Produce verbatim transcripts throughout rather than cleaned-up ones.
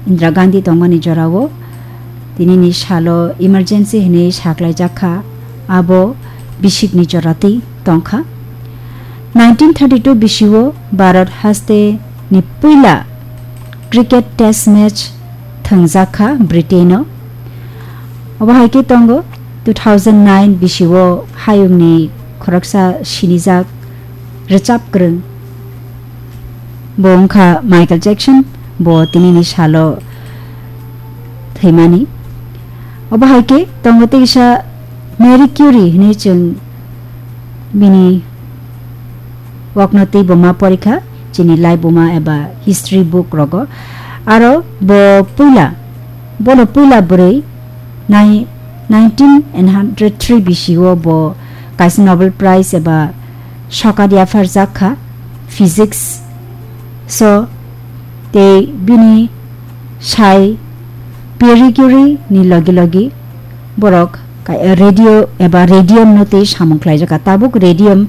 Indira Gandhi tongmani jorao tinini salo emergency hinwi saklaijak kha, abo bisikni jora twi tong kha. Nineteen thirty-two bisio Bharat haste ni puila cricket test match thwngjak kha Britain-o. Obo hai khe tongo two thousand nine bisio hayungni khoroksa sinijak rwchap kwrwng. Bo wngkha Michael Jackson, bo tinini salo thwimani. Obo hai khe tongo teisa Marie Curie hinwi chwng bini kokno twi bo ma porikha chini laibuma eba history book rogo. Aro bo puila, bono puila bwrwi nai-, nineteen hundred three bisio bo kaisa Nobel Prize eba sokat yapharjak kha physics so tei bini sai Marie Curie ni logi logi borok ka-, radio eba radium no tei samung khlaijak kha. Tabuk radium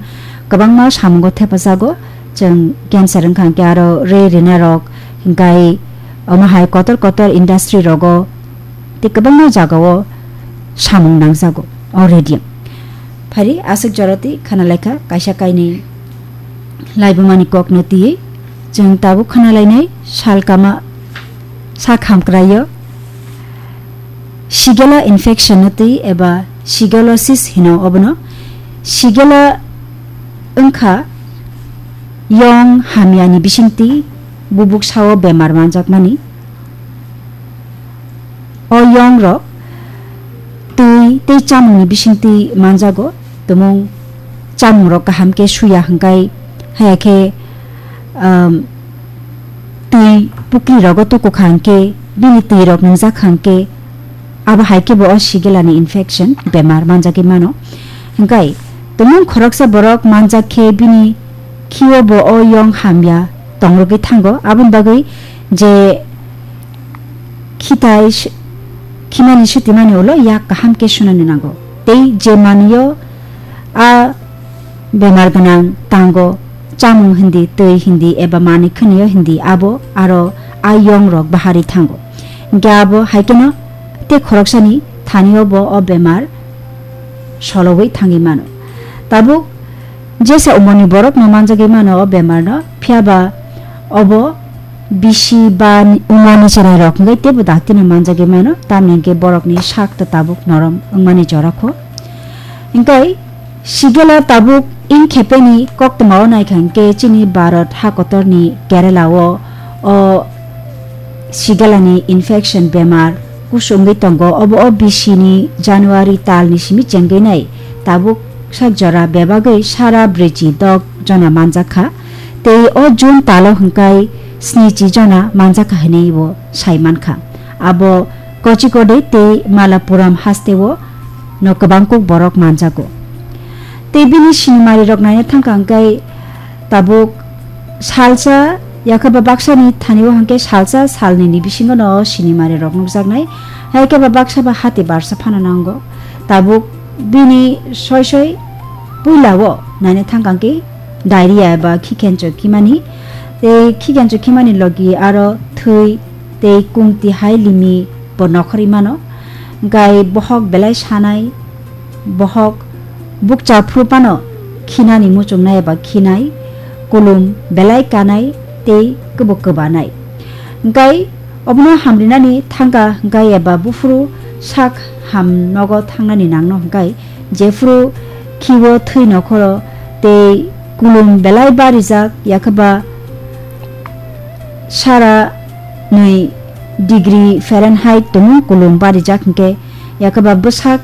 kwbangma samungo thepajago, chwng cancer wngkha hwnkhe aro re rina rok hwnkhe omo hai kotor kotor industry rogo tei kwbangma jagao samung nangjago o radium. Phari aswk joroti khana laikha kaisa kainwi laibumani kokno twiwi chwng tabuk khana lainai salkama sak hamkraio Shigella infection no twi eba shigellosis hino obono. Shigella wngkha yong hamyani bisingtwi bubuk sao bemar manjakmani. O yong rok twi tei chamungni bisingtwi manjago. Tumung chamung rok kaham khe suya hwnkhe, haya khe, um, twi pukri rogo tuku kha hwnkhe, bini twi rok nungjak kha hwnkhe, abo hai khe bo o shigellani infection bemar manjagwi mano. Hwnkhe tumung khoroksa borok manjak khe bini khio bo o yong hamya tongrogwi thango. Aboni bagwi je khitai s-, khimani sutimani ulo yak kaham khe sunani nango. Tei je manwio a bemar gwnang tango, chamung hindi, twi hindi eba manwi khwnio hindi abo aro a yong rok bahari thango. Hwnkhe abo hai kheno tei khoroksani thanio bo o bemar sologwi thangwi mano. Tabuk jesa umorni borokno manjagwi mano o bemarno, phiyaba obo bisi ba ni-, umani chwrairok hwnkhe teibo daktino manjagwi mano, tamni hwnkhe borokni sakto tabuk norom wngmani jora kho. Hwnkhe Shigella tabuk in khepeni koktwmao naikha hwnkhe chini Bharat hakotorni Kerala-o o Shigellani infection bemar kusungwi tongo. Obo o bisini January talni simi chengwi nai tabuk sak jora bebagwi sara brwichi dok jona manjakha, tei o June talo hwnkhe snichi jona manjakha hinwi bo sai mankha. Abo Kozhikode tei Malappuram hasteo no kwbang kuk borok manjago. Tei bini sinimari rok naina thangkha hwnkhe tabuk salsa, yakhe ba baksani thani o hwnkhe salsa salnini bisingo no sinimari rok nukjaknai. Hai khe ba baksa ba hati barsa phano nango. Tabuk bini soi soi puila o naina thangkha hwnkhe diarrhea eba khikencho khimani. Tei khikencho khimani logi aro thwi tei kungti hai limi bo nokhorwi mano. Hwnkhe bohok belai sanai, bohok bukcha phuru phano khinani muchungnai eba khinai, kulum belai kanai tei kwbo kwbanai. Hwnkhe obono hamrinani thangkha hwnkhe eba buphuru sak ham nogo thangnani nangno hwnkhe jephuru khiwo thwi nokhoro tei kulum belai barijak, yakhe ba sara nwi degree Fahrenheit tumung kulum barijak hwnkhe, yakhe ba bwsak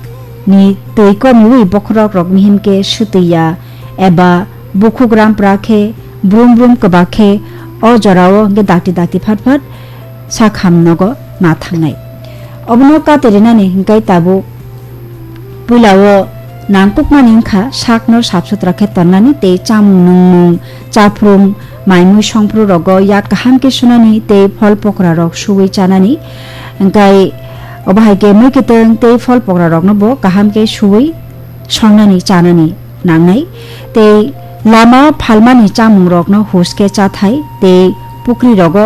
ni twi komiwi bokhorok rok mihim khe swtwi ya eba bukhuk rampra khe brum brum kwbak khe o jorao hwnkhe dakti dakti phat phat sak ham nogo ma thangnai. Obono kate rinani hwnkhe tabuk puila o nangkukmani wngkha sakno sap sutra khe tongnani tei chamung nungmung, chaphrum, mai mui songphru rogo yak kaham khe sunani tei phol pokra rok suwi chanani. Hwnkhe obo hai khe mui kwtwng tei phol pokra rokno bo kaham khe suwi songnani chanani nangnai tei lama phalmani chamung rokno hus khe chathai tei pukri rogo